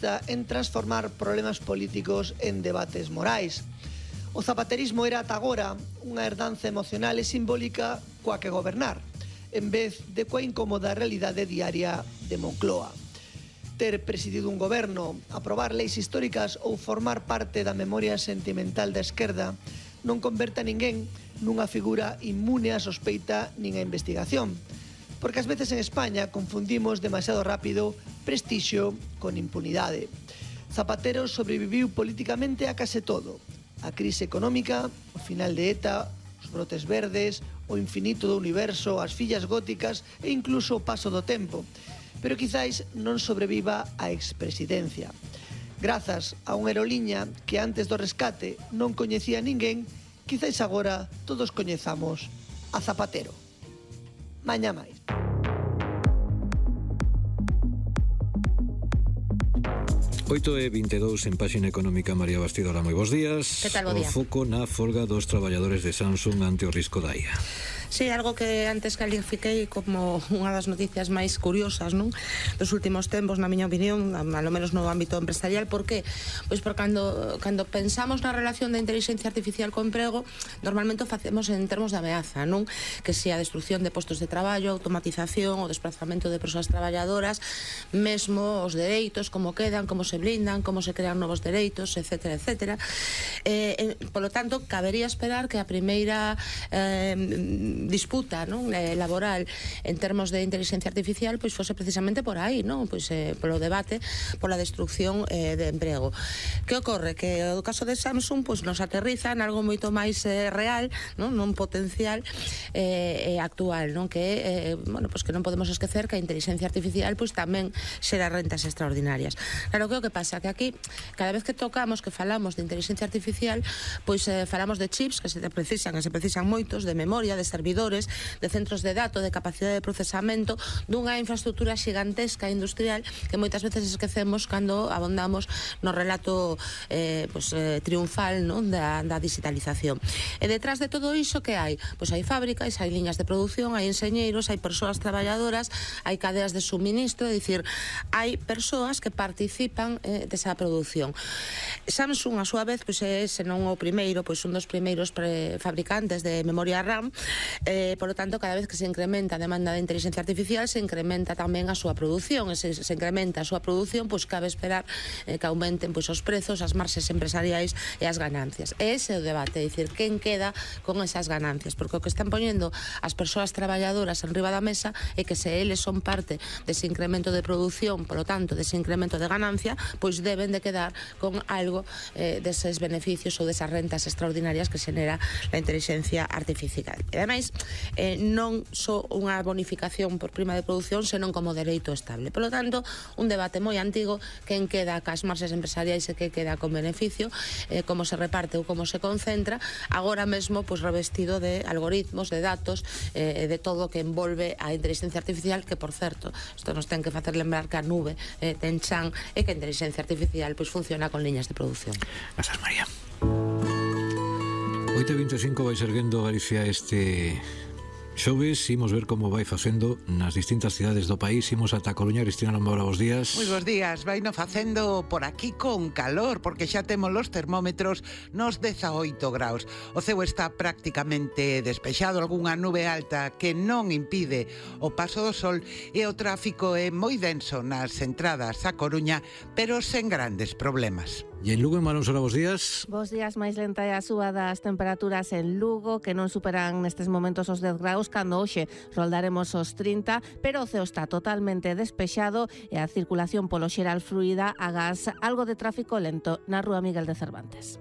consista en transformar problemas políticos en debates morais. O zapaterismo era ata agora unha herdanza emocional e simbólica coa que gobernar, en vez de coa incómoda realidade diaria de Moncloa. Ter presidido un goberno, aprobar leis históricas ou formar parte da memoria sentimental da esquerda non converta a ninguén nunha figura inmune a sospeita nin a investigación, porque ás veces en España confundimos demasiado rápido prestixio con impunidade. Zapatero sobreviviu políticamente a case todo: a crise económica, o final de ETA, os brotes verdes, o infinito do universo, as fillas góticas e incluso o paso do tempo. Pero quizáis non sobreviva a expresidencia. Grazas a unha aeroliña que antes do rescate non coñecía ninguén, quizáis agora todos coñezamos a Zapatero. Mañá máis. Oito e 22 en Páxina Económica. María Bastidora, moi bons días. Que tal, bo día? O foco na folga dos traballadores de Samsung ante o risco da IA. Sí, algo que antes califiquei como unha das noticias máis curiosas, non? Dos últimos tempos, na miña opinión, ao menos no ámbito empresarial. Por que? Pois porque cando pensamos na relación da inteligencia artificial co emprego, normalmente o facemos en termos de ameaza, non? Que se a destrucción de postos de traballo, automatización, o desplazamento de persoas traballadoras, mesmo os dereitos, como quedan, como se blindan, como se crean novos dereitos, etcétera, etcétera. Polo tanto, cabería esperar que a primeira disputa, non, laboral en termos de inteligencia artificial pois fose precisamente por aí, non? Pois polo debate, pola destrucción de emprego. Que ocorre? Que o caso de Samsung pois nos aterriza en algo moito máis real, non potencial actual, non? Que bueno, pois que non podemos esquecer que a inteligencia artificial pois tamén xera rentas extraordinarias. Claro, que o que pasa que aquí cada vez que tocamos, que falamos de inteligencia artificial, pois falamos de chips que se precisan moitos, de memoria, de servidores, de centros de datos, de capacidade de procesamento, dunha infraestructura xigantesca industrial que moitas veces esquecemos cando abondamos no relato triunfal, non, da digitalización. E detrás de todo iso que hai? Pois hai fábricas, hai liñas de produción, hai enxeñeiros, hai persoas traballadoras, hai cadeas de suministro, é dicir, hai persoas que participan desa produción. Samsung, a súa vez, pois é, se non o primeiro, pois un dos primeiros fabricantes de memoria RAM. Por lo tanto, cada vez que se incrementa a demanda de inteligencia artificial, se incrementa tamén a súa produción, e se incrementa a súa produción, pois cabe esperar que aumenten pois os prezos, as marxes empresariais e as ganancias. E ese é o debate, é dicir, quen queda con esas ganancias, porque o que están poñendo as persoas traballadoras en riba da mesa é que se eles son parte dese incremento de produción, por lo tanto, dese incremento de ganancia, pois deben de quedar con algo deses beneficios ou desas rentas extraordinarias que xenera a inteligencia artificial. E ademais, non só unha bonificación por prima de produción, senón como dereito estable. Por lo tanto, un debate moi antigo, quen queda cas marxes empresariais e que queda con beneficio, como se reparte ou como se concentra, agora mesmo pois revestido de algoritmos, de datos, de todo o que envolve a inteligencia artificial, que, por certo, isto nos ten que facer lembrar que a nube ten chan e que a inteligencia artificial pois funciona con liñas de produción. Grazas, María. 8:25 vai erguendo Galicia este xoves. Imos ver como vai facendo nas distintas cidades do país. Imos ata Coruña. Cristina Lombaura, bos días. Moi bos días. Vaino facendo por aquí con calor, porque xa temos os termómetros nos 18 graus. O ceo está prácticamente despexado, algunha nube alta que non impide o paso do sol, e o tráfico é moi denso nas entradas a Coruña, pero sen grandes problemas. E en Lugo, en Malón Sola, bos días. Bos días. Máis lenta é a súa das temperaturas en Lugo, que non superan nestes momentos os 10 graus, cando hoxe roldaremos os 30, pero o ceo está totalmente despexado e a circulación polo xeral fluida, agás algo de tráfico lento na rúa Miguel de Cervantes.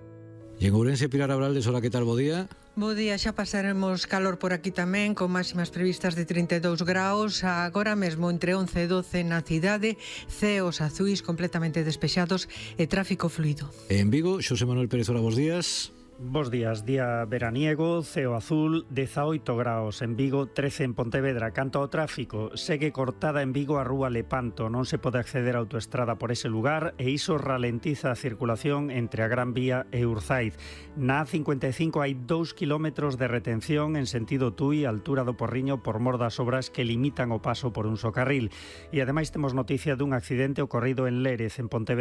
E en Ourense, Pilar Abraldes, hola, que tal, bo día? Bo día, xa pasaremos calor por aquí tamén, con máximas previstas de 32 graus, agora mesmo entre 11 e 12 na cidade, ceos azuis completamente despexados e tráfico fluido. En Vigo, Xosé Manuel Pérez, hola, bos días. Bos días, día veraniego, ceo azul, 18 graus en Vigo, 13 en Pontevedra. Canto ao tráfico, segue cortada en Vigo a rúa Lepanto, non se pode acceder á autoestrada por ese lugar e iso ralentiza a circulación entre a Gran Vía e Urzaiz. Na A55 hai 2 kilómetros de retención en sentido Tui, altura do Porriño, por mor das obras que limitan o paso por un só carril. E ademais temos noticia dun accidente ocorrido en Lérez, en Pontevedra.